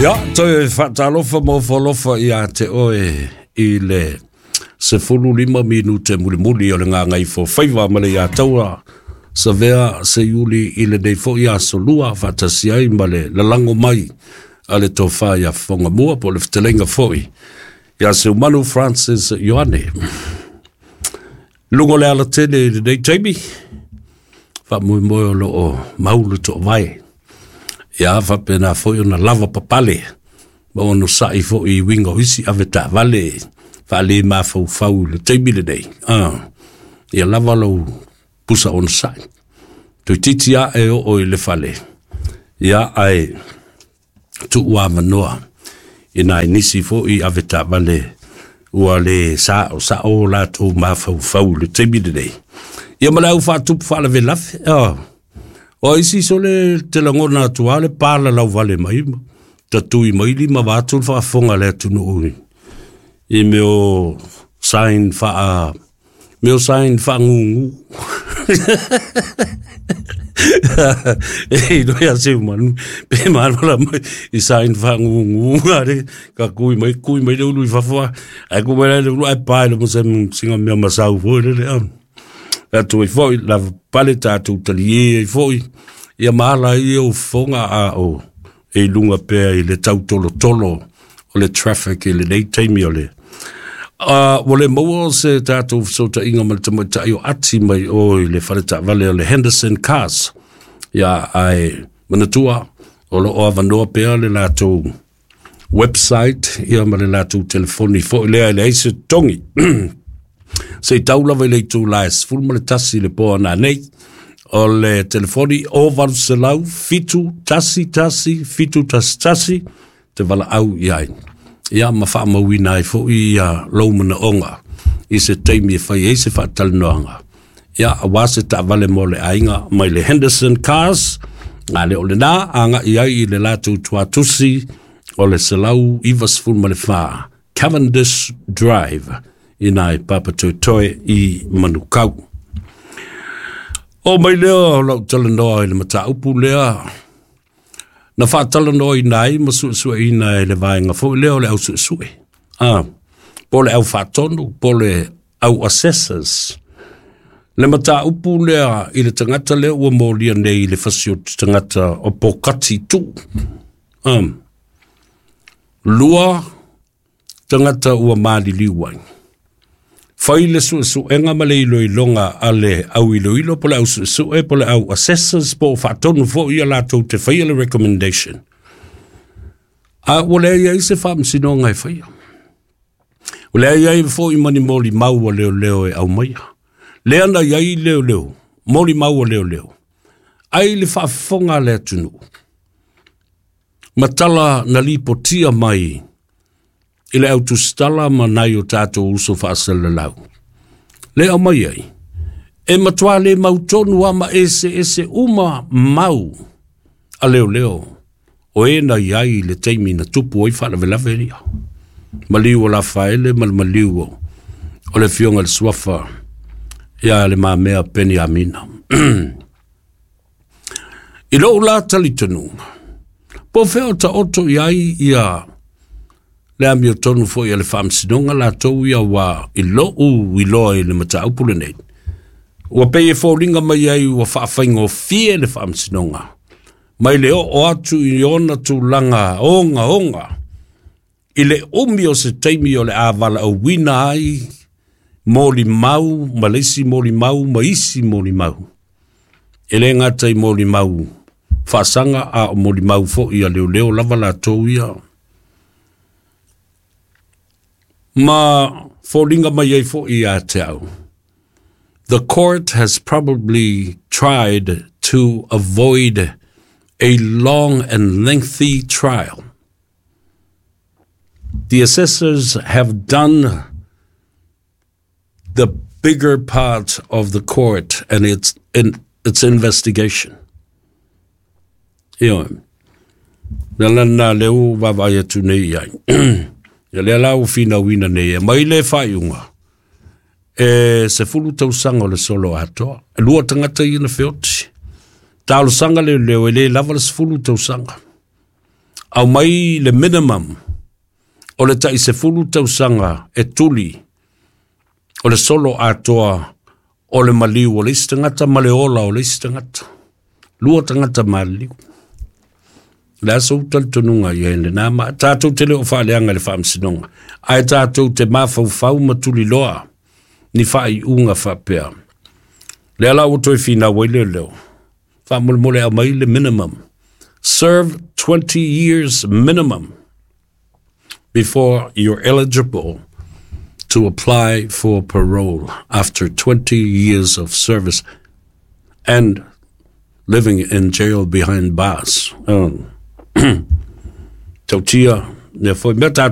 Ia, toe faatalofa ma ofo alofa ia te oe i le 15 minute mulimuli o le gagaifofaiva ma le iataua Savea Seiuli i lenei foi aso lua faatasi ai ma le lalago mai a le tofa ia Fofogamua po o le fetalaiga foi ia Seumanu Francis Ioane. Luga o le alatele i lenei taimi, faamoemoe o lo o mau le toovae. Ia faapena foi ona lava papale ma onosai foi i uiga o isi avetaavale faale mafaufau i le taimi lenei. Ia lava lou pusa onosai. Toeitiiti ae oo i le fale, ia ae tuu avanoa i nai nisi foi avetaavale ua le sao sao latou mafaufau i le taimi lenei. Ia ma le au faatupu faalavelave. O isi sole te lagona atu lava le palalauvale mai ma tatui mai lima vaeatu le faafofoga a le atunuu i mea o sign faa mea o sign faagugu. E iloa ia Seumanu pe malola mai i sign faagugu ale ka kui mai kui mai le ulu i fafo ae kui mai le ulu ae pae le mo se singa mea masau foi lele a. Atu ai foi lava pale tatou talie ai foi ia ma ala ai ia o fofoga a o e i luga pea i le tautolotolo o le traffic i lenei taimi o le ua le maua se tatou fesootaiga ma le tamaitai o ati mai o i le faletaavale o le Henderson Cars. Ia, ae manatua o lo o avanoa pea le latou website ia ma le latou telefoni foi lea e leai se totogi. Se i tau lava i le itula e 11 i le po nanei. O le telefoni o 800 711 711 te valaau i ai. Ia ma faamauina ai foi ia lou manaoga i se taimi e fai ai se faatalanoaga. Ia, aua se taavale mo le aiga mai le Henderson Cars, a le o lena agai ai i le latou tuatusi o le 194 Cavendish Drive i nai Papatoetoe i Manukau. O mai lea o lau talanoa i le mataupu lea na faatalanoaina ai ma suesueina e le vaega foi lea o le au suesue. Po o le au faatonu, po o le au assessors. Le mataupu lea i le tagata lea ua molia nei i le fasioti tagata o Pokati Tu. Lua tagata ua maliliu ai. Fai le suesuega ma le iloiloga a le au iloilo po le au suesue po le au assessors po o faatonu foi ia latou te faia le recommendation. A ua leai ai se faamasinoga e faia. Ua leai ai foi ma ni molimau a leoleo e aumaia. Lea na i ai leoleo, molimau a leoleo, ai le faafofoga a le atunuu. Ma tala na lipotia mai i le autusitala ma nai o tatou uso faasalalau. Le aumai ai, e matua le mautonu lava ma eseese uma mau a leoleo o e na i ai i le taimi na tupu ai faalavelave ia. Maliu o Lafaele ma le maliu o le afioga i le Suafa ia Le Mamea Peniamina. I lou la talitonuga, po o fea o taoto i ai ia le amiotonu foi a le faamasinoga latou ia ua i lou iloa i le mataupu lenei. Ua pei e foliga mai ai ua faafaigofie le faamasinoga mai le oo atu i ona tulaga ogaoga i le umi o se taimi o le a valaauina ai molimau ma le isi molimau ma isi molimau. E le gata i molimau faasaga a o molimau foi a leoleo lava latou ia. Ma foliga mai ai foi ia te au. The court has probably tried to avoid a long and lengthy trial. The assessors have done the bigger part of the court and its in its investigation. Ioe. Le ala lena lea ua vaavaai atu nei i ai. Ia lea la ua finauina nei e mai le faaiuga e 10 tausaga o le solo atoa. E lua tagata ia na feoti. Talosaga leoleo e le lava le 10 tausaga. Aumai le minimum o le tai 10 tausaga e tuli o le solo atoa o le maliu o le isi tagata ma le ola o le isi tagata. Lua tagata maliliu. Le aso talitonuga i ai lena ma tatou te le o faaleaga i le faamasinoga, ae tatou te mafaufau ma tuliloa ni faaiuga faapea. Lea la ua toe finau ai leoleo, faamolemole aumai le minimum. Serve 20 years minimum before you're eligible to apply for parole after 20 years of service and living in jail behind bars. Tautia, nea foi mea tatou.